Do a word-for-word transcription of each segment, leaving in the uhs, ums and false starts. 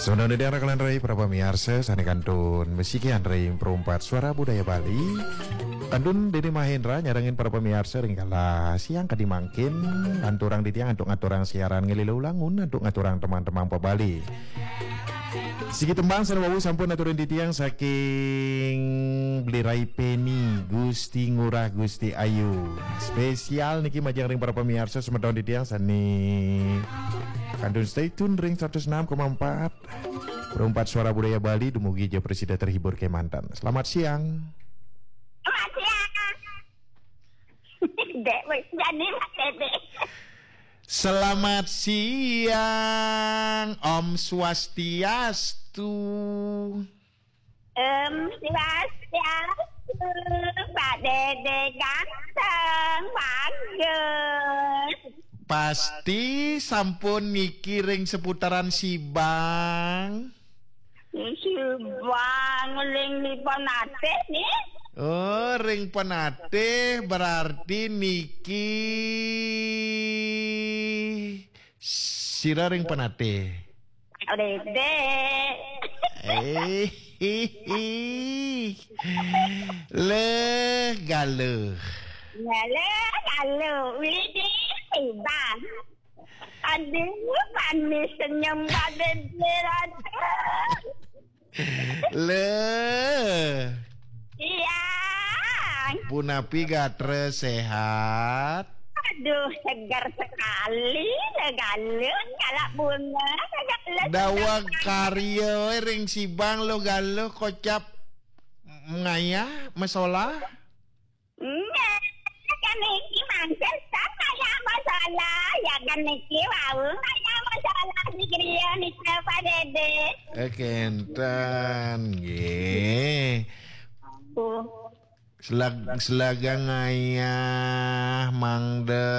Semeton titiang raka lan rai para pamiarsa sané kantun masikian ring Perumpat Suara Budaya Bali. Kantun Dédi Mahendra nyarengin para pamiarsa ring kala siang kadi mangkin, lanturang titiang antuk ngaturang siaran ngeléla ulangun antuk ngaturang tembang-tembang pa Bali. Siki tembang sané wau sampun aturin titiang saking Beli Rai Peni, Gusti Ngurah, Gusti Ayu. Spesial niki majeng ring para pamiarsa semeton titiang sané kantun stay tune ring seratus enam koma empat. Perumpat Suara Budaya Bali dumugi ja prasida terhibur kémanten. Selamat siang. Selamat siang. Dék, wis jani, Mas Dédé. Selamat siang, Om Swastiastu. Om Swastiastu, Pak Dédé ganteng, bagus. Pasti sampun niki ring seputaran Sibang. Sibang ring Penatih nih. Oh, ring Penatih berarti niki sira ring Penatih. Dédé. Eh, le galuh. Ya, le galuh. Widih, Bang. Aduh, manis senyum Pak Dédé, aduh. Le. Iya. Punapi gatra sehat? Aduh, segar sekali, le galuh, kalak bunga, segar le. Daweg segar. Karya ring Sibang, le galuh, kocap ngayah, masolah? Nggih, kan niki mangkin kan ngayah masolah, ya kan niki wau ngayah masolah di griya nika, Pak Dédé. Eh, kénten, nggih. Oh. Selag-, selagang ngayah mangda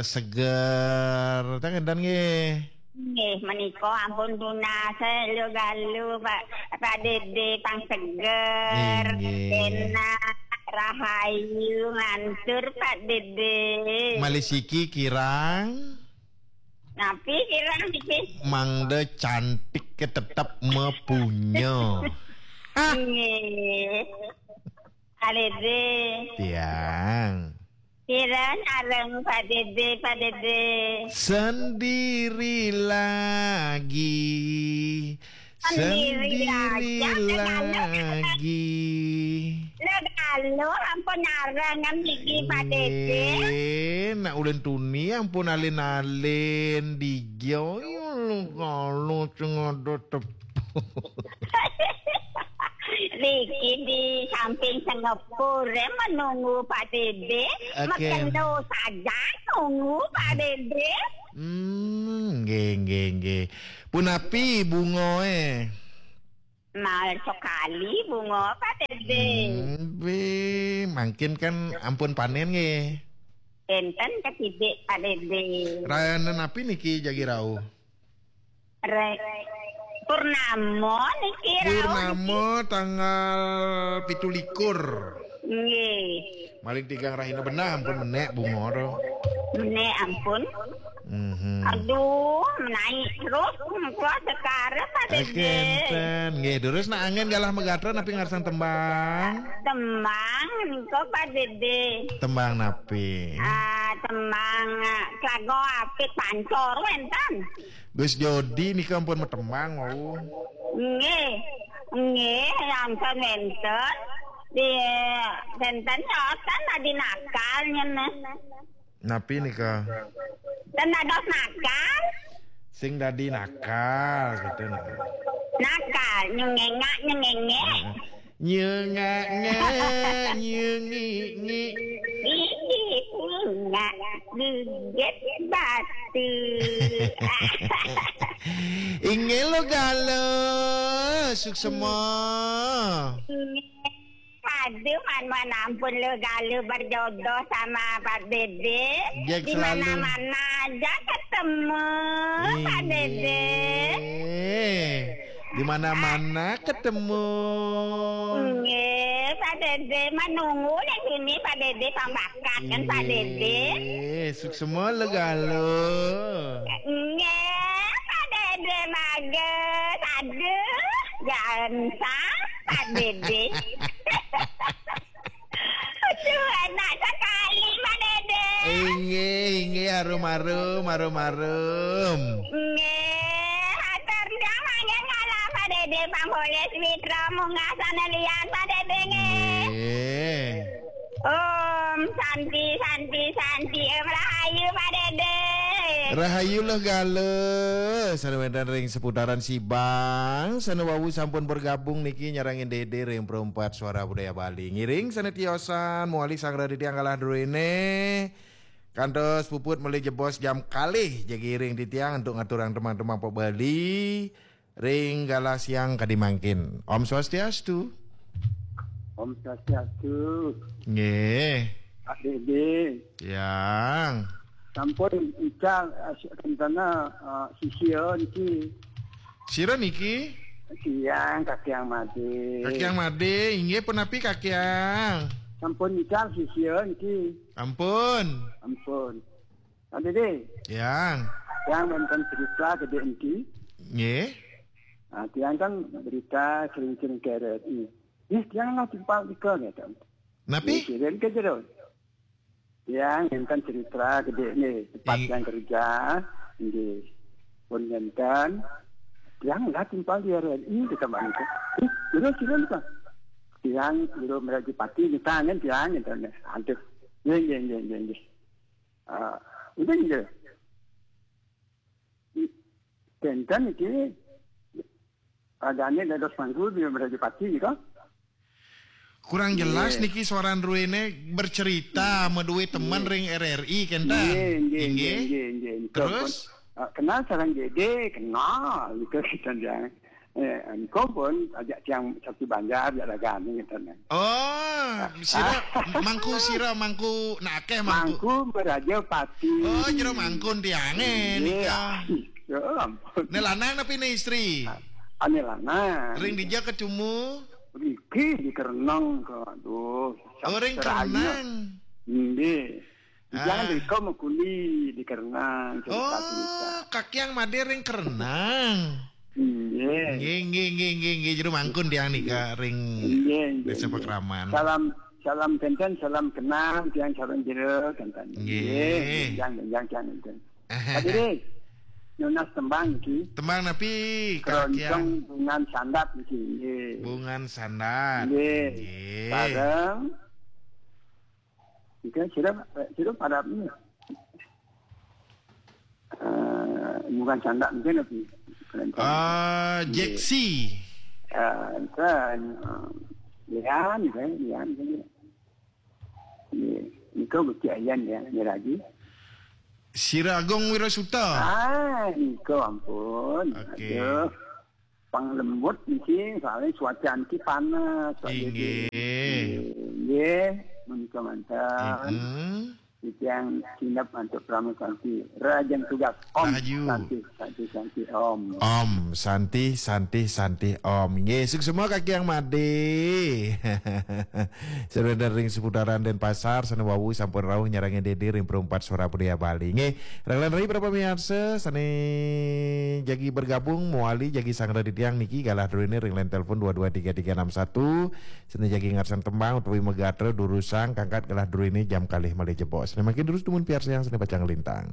seger. Tah kénten nggih. Nggih, menika ampun tunas, eh, le galuh, Pak, Pak Dédé, pang seger, inggih, enak, rahayu, ngantur, Pak Dédé. Malih siki kirang. Napi kirang niki? Mangda cantik ke tetep mapunya. Nggih. Pak Dédé. Tiang. Kira sareng Pak Dédé, Pak Dédé. Sendiri lagi. Sendiri aja, sendiri lagi. Le galuh ampun nyarengin niki, Pak Dédé. Nggih, nak ulin tuni ampun alin-alin dija, ya, le galuh sing ada tep- Niki di samping sengepur, eh, menunggu Pak Dédé. Oke. Mekendo saja nunggu Pak Dédé. Hmm, nggih, nggih, nggih. Punapi bungaé? Mal sekali bunga Pak Dédé. Hmm, bé, mangkin kan ampun panén nggih. Énten ketidik Pak Dédé. Rayanan napi niki jagi rauh? Re-, Purnama niki rauh niki. Purnama tanggal pitu likur. Nggih. Maling tigang rahina beneh ampun menék bunga to. Menék ampun. Mhm. Aduh, menaik terus muka sekarang Pak Dédé. Kénten. Nggih, durus nak anggén galah magatra napi ngarsang tembang? Tembang nika Pak Dédé. Tembang napi? Ah, tembang, ah, Kelago Apit Pancor wénten. Gus Jodi nika ampun matembang wau. Nggih. Nggih, sampun wénten. Di, wénten nyotan adi nakal nyen. Napi nika? Ten dados nakal. Sing dadi nakal gitu nah. Nakal, nyengengak, nyengengek. Heeh. Nyengak-ngak, nyengik-ngik. Ih, ngak geget batu. Inggih lo galo, suksema. Aduh, man, man, ampun lo galo berjodoh sama Pak Dédé. Di mana-mana aja ketemu, Pak Dédé. Inggih. Di mana-mana ketemu. Nggih, Pak Dédé, menunggu di sini, Pak Dédé, pambakat kan, Pak Dédé. Inggih, suksema le galo. Nggih, Pak Dédé, bagus. Ensa, Pak Dede. Aduh, enak sekali, Pak Dede. Inggih, inggih, harum-harum, harum-harum. Nggih, hatur nuwun mangke ngalah, Pak Dede, Pak Bolis Mitra, munggah sana liyan, Pak Dede, nggih. Nggih. Om Santi, Santi, Santi, Om Rahayu, Pak Dede. Rahayu Leh Gala, sané wénten ring seputaran Sibang, sané wau sampun bergabung niki nyarengin Dede ring Perempat Suara Budaya Bali. Ngiring sané tiosan, mawali sang radi tiang galah druéné. Kantos puput malih jebos jam kalih jagi ring titiang untuk ngaturang tembang-tembang pop Bali ring galah siang kadi mangkin. Om Swastiastu. Om Swastiastu. Nggih. Pak Dede. Yang. Sampun ical, eh, rencana, eh, sisia niki. Sira niki? Tiang, Kakiang Made. Kakiang Made, inggih punapi Kakiang? Sampun ical sisia niki. Ampun. Ampun. Pak Dede. Yang. Tiang wénten cerita gedé niki. Nggih. Ah, tiang kan berita sering-sering ke R R I. Ih, tiang lah timpal nika, gitu. Napi? Ih, kirim ke jero. Tiang wénten cerita gedé nih, tempat Ing- tiang kerja, nggih. Pun wénten, tiang lah timpal di R R I, kita balik. Ih, jero, jero, nika. Tiang, jero Merajapati, kita angin tiang, gitu. Aduh. Nggih, nggih, nggih, nggih, nggih. Ah, itu nggih. Kénten niki ragané dados mangku di Merajapati nika. Kurang jelas Nggih. niki suaran druéné bercerita madué teman Nggih. ring R R I kénten. Nggih, nggih, Inggih. nggih, nggih, nggih. Nika Terus? pun, ah, kenal sareng Dede, kenal nika kita jangan. Eh, engko pun ajak tiang satu banjar, ajak ragané, gitu, nah. Oh, sira mangku, sira mangku, nah, akéh mangku. Mangku Merajapati. Oh, jero mangkun tiangé Iya. nika. Ya ampun. Né lanang napi né istri? Ané lanang. Ring dija ketumu? Riki di Kereneng, kok. Aduh. Oh, ring Seraya. Kereneng. Nggih. Jangan Ah. di kau mengkuli di Kerenang, cerita-cerita. Oh, Kakiang Made ring Kerenang. Iya. Nggih, nggih, nggih, nggih, nggih. Jero mangkun tiang nika ring Iya, iya, Desa iya. Pakraman. Salam, salam kénten, salam kenal, tiang sareng jero kénten. Nggih. Iya, jangan, jangan, jangan, jangan. Pak Dede, nunas tembang iki. Tembang napi, Kakiang? Keroncong Bungan Sandat iki, nggih. Bungan Sandat. Nggih. Nggih. Sareng Mungkin sira, sira pada ni. Eh, bukan Sandak mungkin lebih. Ah, Nggih. Jeksi. Eh, kan, eh, Lian, kan, Lian, kan. Nggih. Nika bukti ayan ya, ni lagi. Sira Agung Wirasuta. Ah, nika ampun. Okey. Aduh. Pang lembut niki, soalnya cuaca niki panas, Pak Inggih. Dede. Nggih, menika manten. Inggih. Titiang sinep antuk Pramé Santi. Rahajeng tugas. Om Rahayu. Santi, Santi, Santi, Om. Om Santi, Santi, Santi, Om. Nggih, suksma Kakiang Made. Sané wénten ring seputaran Denpasar, sané wau sampun rauh nyarengin Dede ring Perempat Suara Budaya Bali. Nggih, ring lan rai para pamiarsa, sané jagi bergabung, mawali jagi sangra titiang niki galah druéné ring line telepon dua dua tiga tiga enam satu, sané jagi ngarsan tembang utawi magatra durusang kangkat galah druéné jam kalih malih jebos. Sané mangkin durus dumun piarsayang sané pacang lintang.